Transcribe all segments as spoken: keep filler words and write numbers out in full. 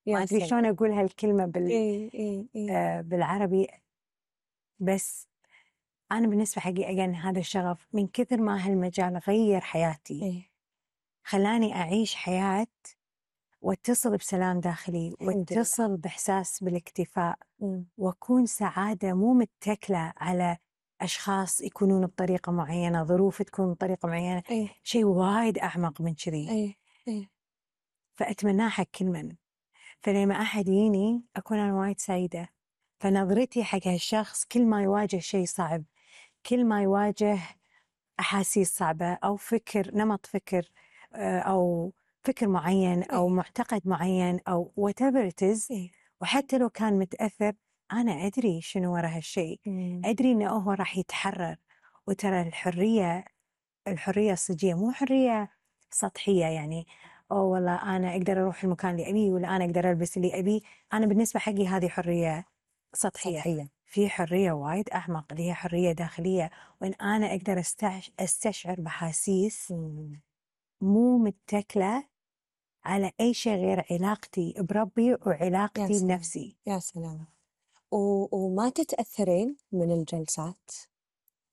ما أدري شلون أقول هالكلمة بال إيه إيه إيه. آه بالعربي، بس أنا بالنسبة حقي أجن هذا الشغف من كثر ما هالمجال غير حياتي. إيه. خلاني أعيش حياة واتصل بسلام داخلي، واتصل بإحساس بالاكتفاء، مم. وأكون سعادة مو متكلة على أشخاص يكونون بطريقة معينة، ظروف تكون بطريقة معينة. إيه. شيء وايد أعمق من كذي. إيه إيه. فأتمناه حق كل من. فلما أحد يجيني أكون أنا وايد سعيدة. فنظرتي حق هالشخص كل ما يواجه شيء صعب، كل ما يواجه أحاسيس صعبة أو فكر نمط فكر أو فكر معين أو إيه. معتقد معين أو whatever it is، إيه. وحتى لو كان متأثر، أنا أدري شنو وراء هالشيء. مم. أدري إنه هو راح يتحرر. وترى الحرية الحرية الصجية مو حرية سطحية، يعني أو والله أنا أقدر أروح المكان اللي أبيه ولا أنا أقدر ألبس اللي أبيه. أنا بالنسبة حقي هذه حرية سطحية. سطحية. في حرية وايد أعمق اللي هي حرية داخلية، وإن أنا أقدر استش... استشعر بحاسيس مم. مو متكلة على أي شيء غير علاقتي بربي وعلاقتي يا بنفسي. يا سلام. و... وما تتأثرين من الجلسات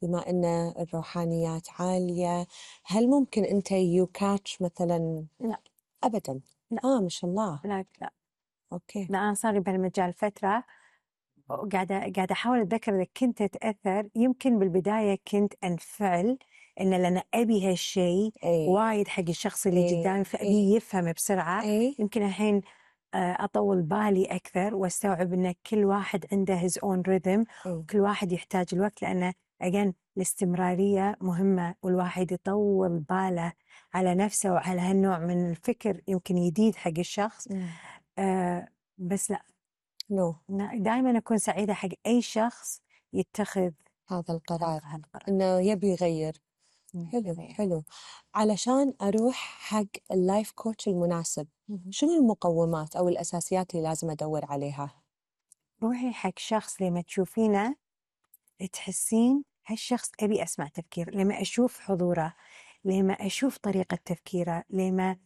بما أن الروحانيات عالية؟ هل ممكن أنت يو كاتش مثلا؟ لا أبدا. لا آه ما شاء الله. لا لا, أوكي. لا أنا صار لي بهالمجال فترة، قاعدة قاعدة أحاول أتذكر إذا كنت أتأثر. يمكن بالبداية كنت أنفعل إن لأن أبي هالشيء أي. وايد حق الشخص اللي أي. قدامي أي. فأبي يفهم بسرعة. أي. يمكن الحين أطول بالي أكثر واستوعب إن كل واحد عنده his own rhythm، أي. وكل واحد يحتاج الوقت، لأنه again الاستمرارية مهمة، والواحد يطول باله على نفسه وعلى هالنوع من الفكر يمكن جديد حق الشخص. آه بس لا نو. دائما أكون سعيدة حق أي شخص يتخذ هذا القرار هالقرار. إنه يبي يغير. حلو حلو. علشان أروح حق اللايف كوتش المناسب، شنو المقومات أو الأساسيات اللي لازم أدور عليها؟ روحي حق شخص لما تشوفينه تحسين هالشخص أبي أسمع تفكير، لما أشوف حضوره، لما أشوف طريقة تفكيره، لما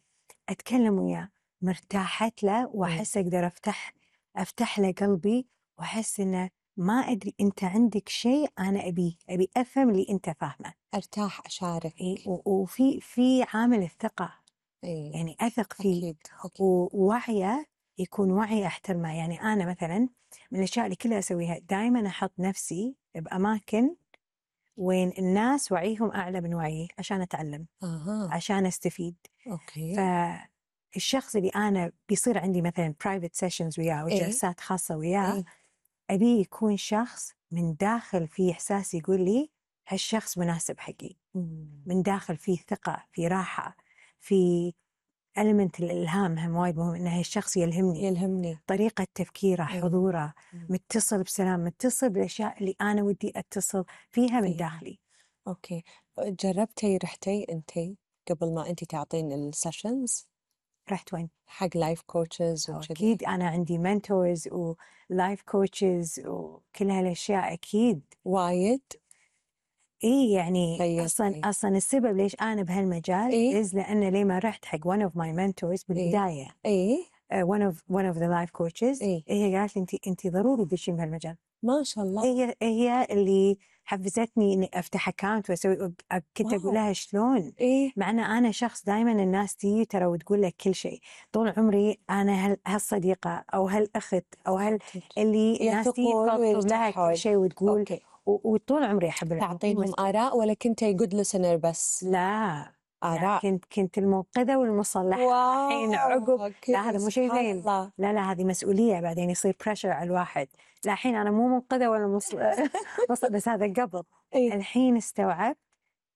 أتكلم وياه مرتاحت له وأحس أقدر أفتح أفتح له قلبي، وأحس إنه ما أدري أنت عندك شيء أنا أبي أبي أفهم اللي أنت فاهمه. أرتاح أشارك. إيه، وفي في عامل الثقة. إيه. يعني أثق فيه. أكيد أكيد. ووعيه يكون وعي أحترمه. يعني أنا مثلا من الأشياء اللي كلها أسويها دائما أحط نفسي بأماكن وين الناس وعيهم أعلى من وعيي عشان أتعلم، أها. عشان أستفيد. أوكي. فالشخص اللي أنا بيصير عندي مثلا private sessions وياه وجلسات خاصة وياه، إيه؟ أبي يكون شخص من داخل فيه إحساس يقول لي هالشخص مناسب حقي. مم. من داخل فيه ثقة، في راحة، في element الإلهام. هم وايد مهم إن هالشخص يلهمني، يلهمني. طريقة تفكيره، إيه. حضوره، مم. متصل بسلام، متصل بالأشياء اللي أنا ودي أتصل فيها من فيها. داخلي. أوكي. جربتي رحتي أنتي قبل ما أنتي تعطين السيشنز رحت وين؟ حق لايف كوتشز وكذي؟ أكيد أنا عندي منتورز ولايف كوتشز وكل هالأشياء أكيد وايد. إيه. يعني أصلا غيرتي. أصلا السبب ليش أنا بهالمجال إيه؟ إز لأن لما رحت حق one of my mentors إيه؟ بالبداية، إيه؟ uh, one of one of the life coaches، إيه؟ هي قالت لي أنت أنت ضروري تدشين بهالمجال. ما شاء الله. هي هي اللي حفزتني إني أفتح أكاونت وأسوي. كنت أقول لها شلون؟ إيه؟ مع أن أنا شخص دائما الناس تيجي ترى وتقول لك كل شيء طول عمري. أنا هال هالصديقة أو هالأخت أو هال اللي الناس تيجي يثقون تفضفض لها كل ويرتاحون. شيء وتقول. أوكي. وطول عمري أحب تعطينهم آراء ولا كنتي جود listener بس؟ لا لا آراء. كنت كنت المنقذة والمصلحة. الحين واو. عقب لا أوكي هذا مو شيء سبحان زين. الله. لا لا هذه مسؤولية بعدين يصير بريشر على الواحد. لا الحين أنا مو منقذة ولا مص... مص... بس هذا قبل. إيه؟ الحين استوعبت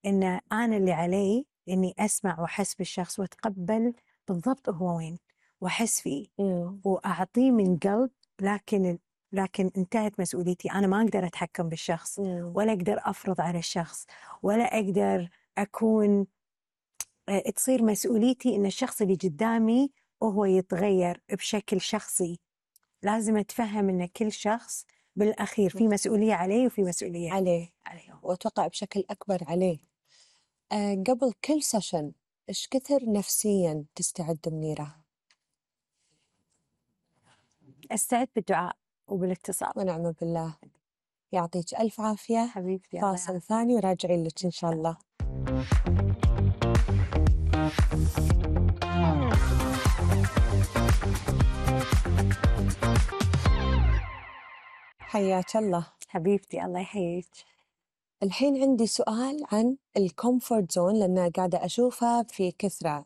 إن أنا اللي علي إني أسمع وأحس بالشخص وأتقبل بالضبط هو وين وأحس فيه مم. وأعطيه من قلب. لكن لكن انتهت مسؤوليتي. أنا ما أقدر أتحكم بالشخص مم. ولا أقدر أفرض على الشخص ولا أقدر أكون تصير مسؤوليتي إن الشخص اللي قدامي وهو يتغير بشكل شخصي. لازم أتفهم إن كل شخص بالأخير في مسؤولية عليه وفي مسؤولية عليه. عليه. وأتوقع بشكل أكبر عليه. آه قبل كل سيشن إيش كثر نفسيا تستعد منيرة؟ أستعد بالدعاء وبالاتصال. ونعم بالله. يعطيك ألف عافية. حبيبتي الله فاصل يعافيك. ثاني وراجعين لك إن شاء الله. حياك الله. حبيبتي الله يحييك. الحين عندي سؤال عن الكومفورت زون، لأن قاعدة أشوفها في كثرة.